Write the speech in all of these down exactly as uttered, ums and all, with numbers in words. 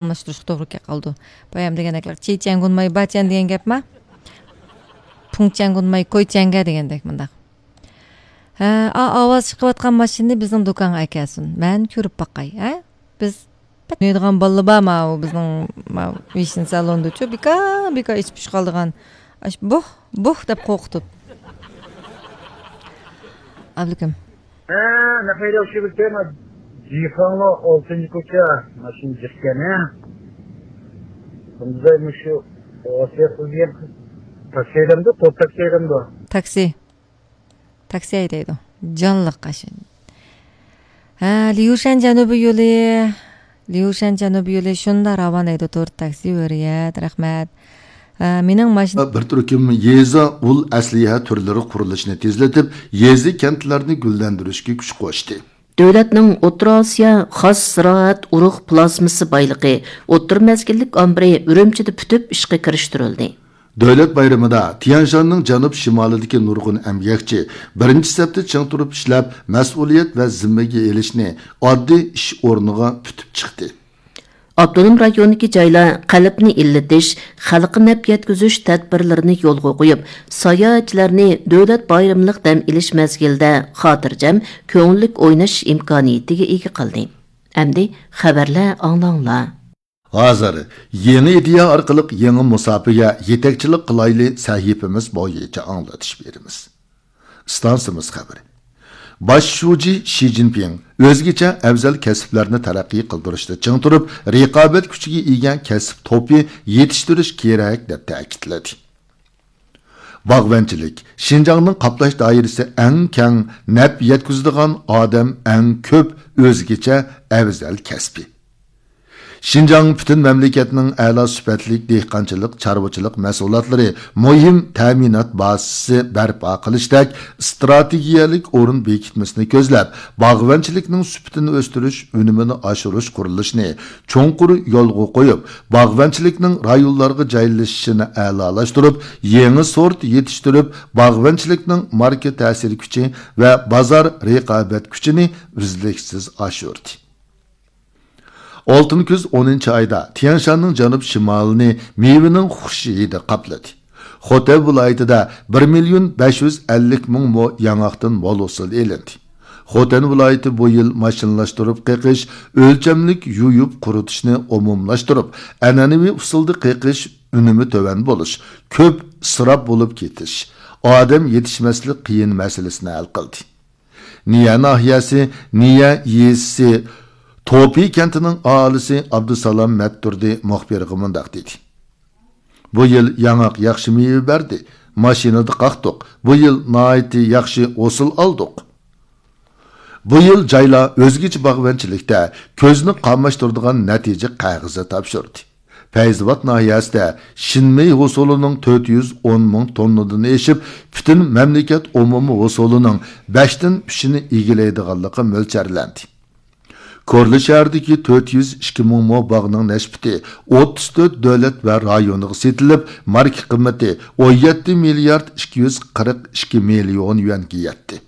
ئالماشتۇرۇشقا توغرا كەپ قالىدۇ. بايام دېگەندەك، چىچەنگۇنماي باچەن دېگەن گەپما؟ پۇڭچەنگۇنماي كويچەنگە دېگەندەك مۇنداق. ھە، ئا، ئاۋاز چىقىۋاتقان ماشىنىنى بىزنىڭ دۇكانغا ئەكەلسۇن. مەن كۆرۈپ باقاي، ھە؟ بىز ئوينايدىغان بالىلار بار، ماۋۇ بىزنىڭ، ماۋۇ ۋىشنى سالونىدىچۇ، بىكار، بىكار ئىچ پۇش قالىدىغان. ئاش بۇھ، بۇھ دەپ قورقۇتۇپ. ئابلىكىم. ھە، نەقەيدە ئوخشىۋېتىمەن. جىخاڭلو ئالتىنچى كوچا، ماشىنا جىقكەن، ھە. بۇنداق مۇشۇ ئوسىيەت قىلگەن تاكسى ھەيدەمدۇ، توپ تاكسى ھەيدەمدۇ؟ تاكسى. تاكسى ھەيدەيدۇ. جانلىق قاش. ھە، ليۇشەن جەنۇبىي يولى. ليۇشەن جەنۇبىي يولى شۇنداق راۋان ھەيدەيدۇ، تور تاكسى ھۆرىيەت، رەھمەت. ھە، مېنىڭ ماشىنا بىر تۈركۈم يېزا ئۇل ئەسلىھە تۈرلىرى قۇرۇلۇشىنى تېزلىتىپ، يېزا، كەنتلەرنى گۈللەندۈرۈشكە كۈچ قوشتى. دۆلەتنىڭ ئوتتۇرا ئاسىيا خاس زىرائەت ئۇرۇق پلازمىسى بايلىقى ئوتتۇرا مەزگىللىك ئامبىرى ئۈرۈمچىدە پۈتۈپ ئىشقا كىرىشتۈرۈلدى. دۆلەت بايرىمىدا تيەنشاننىڭ جەنۇب شىمالىدىكى نۇرغۇن ئەمگەكچى بىرىنچى سەپتە چىڭ تۇرۇپ ئىشلەپ، مەسئۇلىيەت ۋە زىممىگە ئېلىشنى ئاددىي ئىش ئورنىغا پۈتۈپ چىقتى. ئاپتونوم رايوندىكى جايلار قەلبنى ئىللىتىش، خەلققە نەپ يەتكۈزۈش تەدبىرلىرىنى يولغا قويۇپ، ساياھەتچىلەرنى دۆلەت بايرىملىق دەم ئېلىش مەزگىلىدە خاتىرجەم، كۆڭۈللۈك ئويناش ئىمكانىيىتىگە ئىگە قىلدى. ئەمدى خەۋەرلەر ئاڭلاڭلار. ھازىر يېڭى ئىدىيە ئارقىلىق يېڭى مۇساپىگە يېتەكچىلىك قىلايلى سەھىپىمىز بويىچە ئاڭلىتىش بېرىمىز. ئىستانسىمىز خەۋىرى. باش شۇجى شى جىنپىڭ ئۆزگىچە ئەۋزەل كەسىپلەرنى تەرەققىي قىلدۇرۇشتا چىڭ تۇرۇپ، رىقابەت كۈچىگە ئىگە كەسىپ توپى يېتىشتۈرۈش كېرەك، دەپ تەكىتلىدى. باغۋەنچىلىك، شىنجاڭنىڭ قاپلاش دائىرىسى ئەڭ كەڭ، نەپ يەتكۈزىدىغان ئادەم ئەڭ كۆپ، ئۆزگىچە ئەۋزەل كەسپى. شىنجاڭ پۈتۈن مەملىكەتنىڭ ئەلا سۈپەتلىك دېھقانچىلىق، چارۋىچىلىق مەھسۇلاتلىرى مۇھىم تەمىنات بازىسى بەرپا قىلىشتەك ئىستراتېگىيەلىك ئورۇن بېكىتمىسىنى كۆزلەپ، باغۋەنچىلىكنىڭ سۈپىتىنى ئۆستۈرۈش، ئۈنۈمىنى ئاشۇرۇش قۇرۇلۇشىنى چوڭقۇر يولغا قويۇپ، باغۋەنچىلىكنىڭ رايونلارغا جايلىشىشىنى ئەلالاشتۇرۇپ، يېڭى سورت يېتىشتۈرۈپ، باغۋەنچىلىكنىڭ ماركا تەسىر كۈچى ۋە بازار رىقابەت كۈچىنى ئۈزلۈكسىز ئاشۇردى. ئالتۇن كۈز ئونىنچى ئايدا تيەنشاننىڭ جەنۇب شىمالىنى مېۋىنىڭ خۇش ھىدى قاپلىدى. خوتەن ۋىلايىتىدە بىر مىليون بەش يۈز ئەللىك مىڭ مو ياڭاقتىن مول ھوسۇل ئېلىندى. خوتەن ۋىلايىتى بۇ يىل ماشىنىلاشتۇرۇپ قېقىش، ئۆلچەملىك يۇيۇپ قۇرۇتۇشنى ئومۇملاشتۇرۇپ، ئەنئەنىۋى ئۇسۇلدا قېقىش ئۈنۈمى تۆۋەن بولۇش، كۆپ ئىسراپ بولۇپ كېتىش، ئادەم يېتىشمەسلىك قىيىن مەسىلىسىنى ھەل قىلدى. نىيە ناھىيەسى نىيە يېزىسى توپى كەنتىنىڭ ئاھالىسى ئابدۇسالام مەتتۇردى مۇخبىرغا مۇنداق دېدى: بۇ يىل ياڭاق ياخشى مېۋە بەردى، ماشىنىدا قاقتۇق، بۇ يىل ناھايىتى ياخشى ھوسۇل ئالدۇق. بۇ يىل جايلار ئۆزگىچە باغۋەنچىلىكتە كۆزنى قاماشتۇرىدىغان نەتىجە قەغىزى تاپشۇردى. پەيزىۋات ناھىيەسىدە شىنمېي ھوسۇلىنىڭ تۆت يۈز ئون مىڭ توننىدىن ئېشىپ، پۈتۈن مەملىكەت ئومۇمىي ھوسۇلىنىڭ بەشتىن ئۈچىنى ئىگىلەيدىغانلىقى مۆلچەرلەندى. كورلا شەھىرىدىكى تۆت يۈز ئىككى مىڭ مو باغنىڭ نەشپۈتى ئوتتۇز تۆت دۆلەت ۋە رايونىغا سېتىلىپ، ماركا قىممىتى ئون يەتتە مىليارد ئىككى يۈز قىرىق ئىككى مىليون يۈەنگە يەتتى.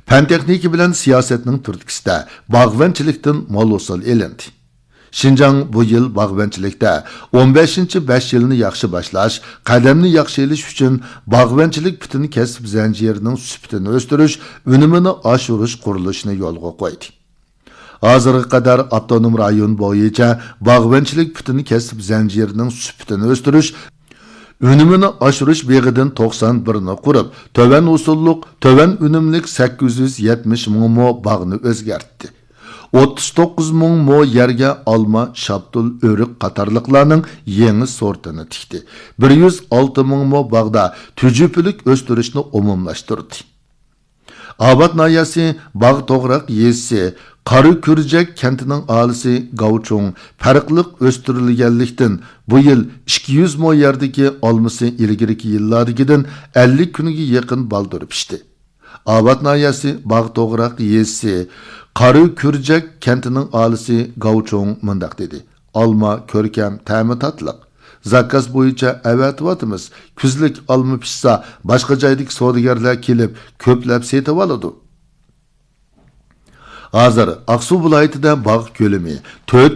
پەن تېخنىكا بىلەن سىياسەتنىڭ تۈرتكىسىدە باغۋەنچىلىكتىن مول ھوسۇل ئېلىندى. شىنجاڭ بۇ يىل باغۋەنچىلىكتە ئون بەشىنچى بەش يىلنى ياخشى باشلاش، قەدەمنى ياخشى ئېلىش ئۈچۈن باغۋەنچىلىك پۈتۈن كەسىپ زەنجىرىنىڭ سۈپىتىنى ئۆستۈرۈش، ئۈنۈمىنى ئاشۇرۇش قۇرۇلۇشىنى يولغا قويدى. ھازىرغا قەدەر ئاپتونوم رايون بويىچە باغۋەنچىلىك پۈتۈن كەسىپ زەنجىرىنىڭ سۈپىتىنى ئۆستۈرۈش، ئۈنۈمىنى ئاشۇرۇش بېغىدىن توقسان بىرنى قۇرۇپ، تۆۋەن ھوسۇللۇق، تۆۋەن ئۈنۈملۈك سەككىز يۈز يەتمىش مىڭ مو باغنى ئۆزگەرتتى. ئوتتۇز توققۇز مىڭ مو يەرگە ئالما، شاپتۇل، ئۆرۈك قاتارلىقلارنىڭ يېڭى سورتىنى تىكتى. بىر يۈز ئالتە مىڭ مو باغدا تۈجۈپىلىك ئۆستۈرۈشنى ئومۇملاشتۇردى. ئاۋات ناھىيەسى باغ توغراق يېزىسى قارا كۈرجەك كەنتىنىڭ ئاھالىسى گاۋچۇڭ پەرقلىق ئۆستۈرۈلگەنلىكتىن، بۇ يىل ئىككى يۈز مو يەردىكى ئالمىسى ئىلگىرىكى يىللاردىكىدىن ئەللىك كۈنگە يېقىن بالدۇر پىشتى. ئاۋات ناھىيەسى باغ توغراق يېزىسى قارا كۈرجەك كەنتىنىڭ ئاھالىسى گاۋچۇڭ مۇنداق دېدى: ئالما كۆركەم، تەمى تاتلىق. زاكاز بويىچە ئەۋەتىۋاتىمىز. كۈزلۈك ئالما پىشسا، باشقا جايدىكى سودىگەرلەر كېلىپ، كۆپلەپ سېتىۋالىدۇ. ھازىر ئاقسۇ ۋىلايىتىدە باغ كۆلىمى تۆت